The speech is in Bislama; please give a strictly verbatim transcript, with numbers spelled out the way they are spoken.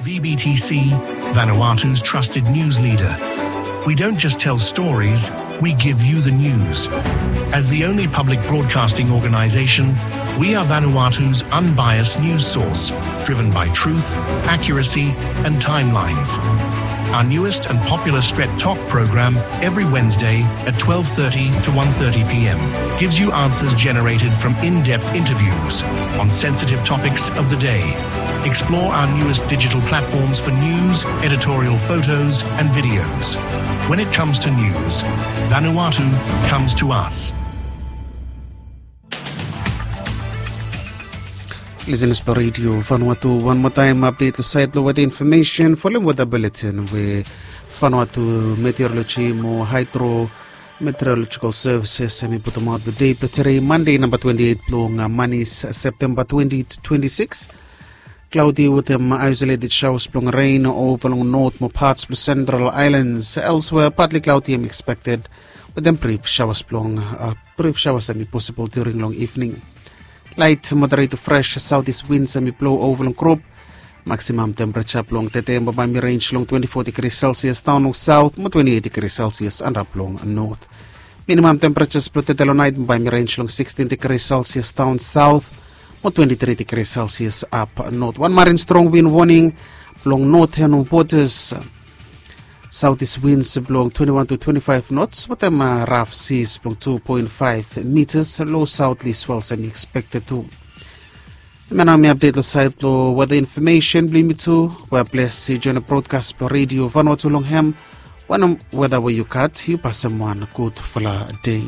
V B T C, Vanuatu's trusted news leader. We don't just tell stories, we give you the news. As the only public broadcasting organization, we are Vanuatu's unbiased news source, driven by truth, accuracy, and timelines. Our newest and popular Stret Talk program every Wednesday at twelve thirty to one thirty p m gives you answers generated from in-depth interviews on sensitive topics of the day. Explore our newest digital platforms for news, editorial photos, and videos. When it comes to news, Vanuatu comes to us. Listeners blong Radio Vanuatu, wan moa taem update long sait blong weather information. Folem weather bulletin we Vanuatu Meteorology mo Hydro Meteorological Services hemi putumaot blong dei blong tede, Monday, namba twenty-eight blong, uh, manis, September twenty to twenty-six. Cloudy wetem isolated showers blong rain ova long north mo parts blong central islands. Elsewhere, partly cloudy hemi expected wetem brief showers blong, uh, brief showers hemi possible during long evening. Light moderate to fresh southeast winds hemi blow ova long group. Maximum temperature blong tede bambae hemi range long twenty-four degrees Celsius daon long south mo twenty-eight degrees Celsius antap long north. Minimum temperatures blong tede long naet bambae hemi range long sixteen degrees Celsius daon south mo twenty-three degrees Celsius ap north. Wan marin strong wind warning blong northern waters. Southeast winds blong twenty-one to twenty-five knots wetem, uh, rough seas blong two point five meters. Low southerly swells hemi expected tu. Hemia nao hemi update long sait blong weather information blong yumi tu. We bless yu join long broadcast blong Radio Vanuatu long hem. Wanem weather we yu gat, yu pasem wan gudfala dei.